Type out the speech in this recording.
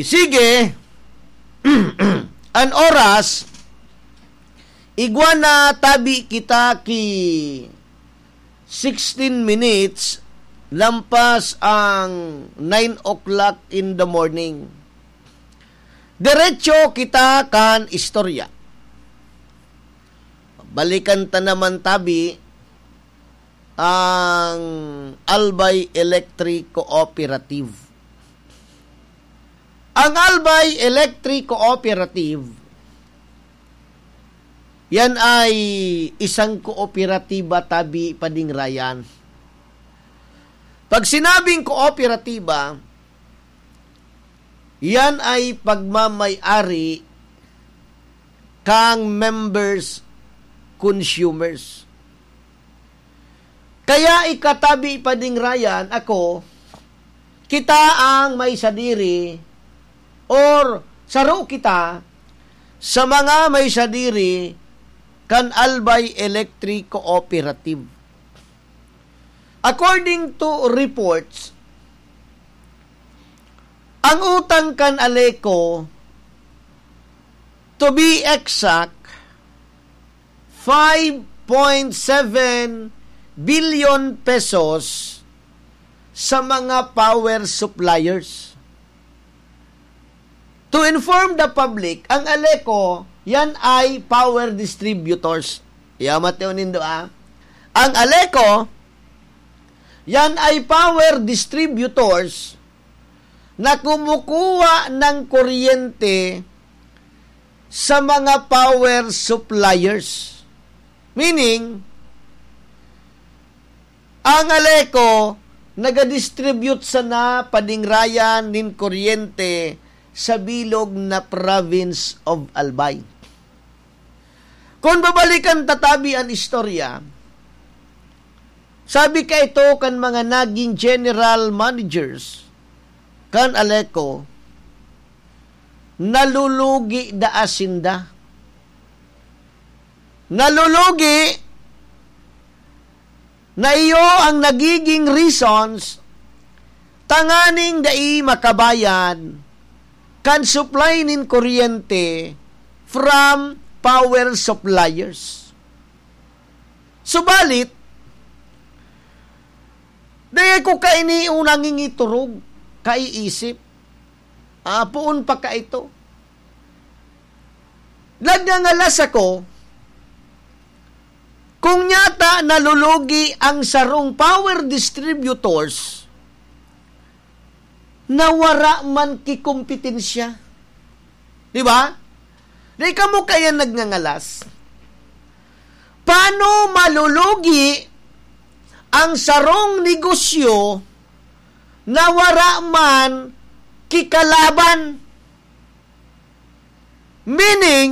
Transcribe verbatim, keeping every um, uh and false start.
Sige, an oras, igwa na tabi kita ki sixteen minutes lampas ang nine o'clock in the morning. Diretso kita kan istorya. Balikan ta naman tabi ang Albay Electric Cooperative. Ang Albay Electric Cooperative, yan ay isang kooperatiba tabi, Pading Ryan. Pag sinabing kooperatiba, yan ay pagmamay-ari kang members, consumers. Kaya ika tabi, Pading Ryan, ako, kita ang may sadiri or saro kita sa mga may sadiri kan Albay Electric Cooperative. According to reports, ang utang kan Aleco, to be exact, five point seven billion pesos sa mga power suppliers. To inform the public, ang Aleco, yan ay power distributors. Iya, mateo nindo, ah. Ang Aleco, yan ay power distributors na kumukuha ng kuryente sa mga power suppliers. Meaning, ang Aleco nagadistribute sana, Pading Ryan, nin kuryente sa bilog na province of Albay. Kung babalikan ta tabi an istorya, sabi kaito kan mga naging general managers kan Aleco, nalulugi daa sinda. Nalulugi na iyo ang nagiging reasons tanganing dai makabayad kan supply nin kuryente from power suppliers. Subalit, dai ko kaini nangingiturog, kaiisip. Ah, poon pa kaito. Nagngangalas ako, kung nyata nalulugi ang sarong power distributors na wara man kikompetensya. Di ba? Di kamo kaya nagngangalas? Paano malulugi ang sarong negosyo na wara man kikalaban? Meaning,